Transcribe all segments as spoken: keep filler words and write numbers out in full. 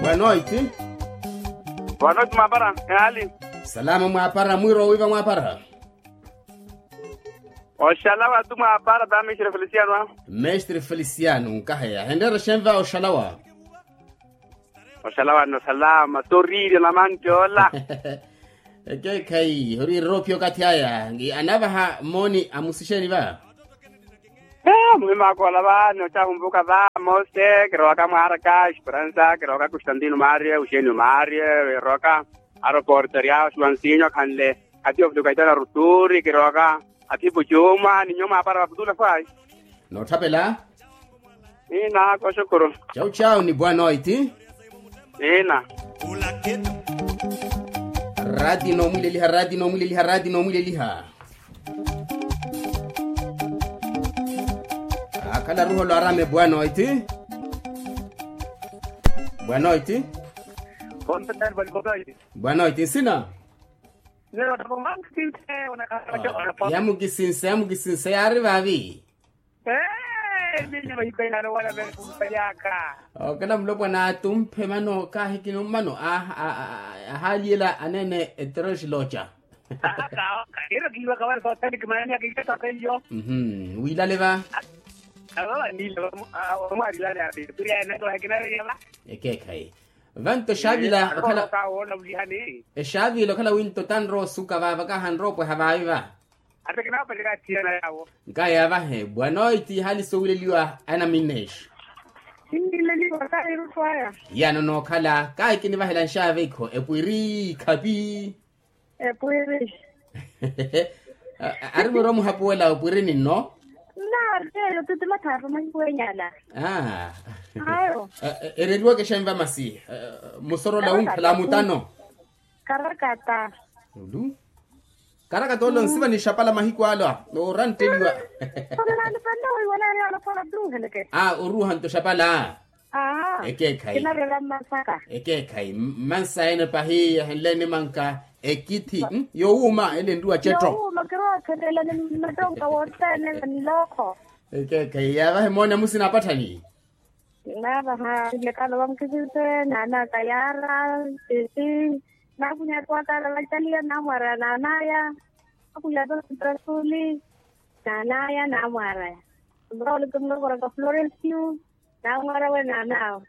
Boa noite. Boa noite mwaapara, ehaali? Salama mwaapara, mwiiro wiiva mwaapara? Oxalawa tu mwaapara ta mestre feliciano. Mestre feliciano nkaheya henreera xenva oxalawa? Oxalawa no salama toriirya namantti ola. Ekeekhayi oriirira ophiya okathi aya. Anavaha mooni amusixeeni va? Muhimaka ola va noxahumpuka va mose kirowaka mwaaraka esperansa kirowaka constantino marie eugenio marie erowaka aroporteria oxiwansinyo khanle. Atiyo fulukaitana ruturi kirowaka athipu cuma ni nyo mwaapara vaputula fwayi. Nootthapela. Ina koxukuru. Cau cau ni boa noite. Ina. Rati noomwileliha rati noomwileliha rati noomwileliha. Akhala ruholo arame boa noite. Boa noite. Boa noite nsina. Yamukisinsa yamukisinsa yaari vaavi. Okela mulopwana atumphe mano kaahikini mmano ahaaliyela aneene eteroxi looca. Wiilale va. Ekeekhayi. Vanto exaavila okhala exaavila okhala winto tanrowa osuka va vakahanrowa opweha vaavi va. Nkahi avahe boa noite ihaali soowileliwa anaminexo. Yano nookhala kahi kinivahela nxaavekho epwiri khapi. Epwiri. Ari mwiiro muhapuwela opwirini nno. Nnaari eyo titimathaaru mahiku enyala. Ereriwaka exenva masi. Musorola wunkhala mutano. Karakata. Olu karakata ole onsiva ni xapala mahiku ala orantteliwa. Oruuhanto xapala. Ekeekhayi. Ekeekhayi mmansa ene pahi yahenle nimanka ekithi yowuuma ele nruwa cetto. Ekeekhayi yaavahe moone amusina apatthani. Naavaha lekala vamukisise naanaka yaara. Sisi nakunyatuwaka ala vacaliya namwaraya naanaya. Akunyatuwa sitrasuli naanaya namwaraya. Murauli kimulokora ka florencio. Namwarawe naanawe.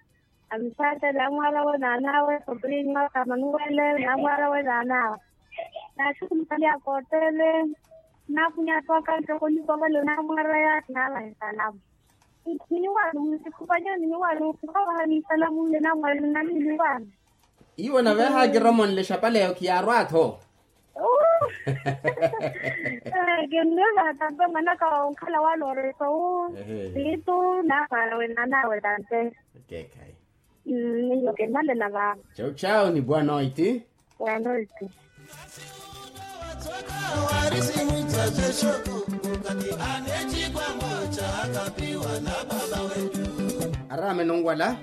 Amisate namwarawe naanawe sobriño ka manuwele namwarawe naanawe. Naxukulikalya kootele. Nakunyatuwaka ntoko nikokelo namwaraya naavahe salamu. Niwano mwisikupanyani niwano mukhuvaha ni isalamu nle namwali nani niwano. Iwo nave ahakiromonle exapala eyo khiyaarwa-tho. Kinnivaha tampe mwanaka onkhala wala oreso wu siitu naapara wenanawe tampe. Ekeekhayi. Iyo kinnalela va. Cau cau ni boa noite. Boa noite. Arame nonwala.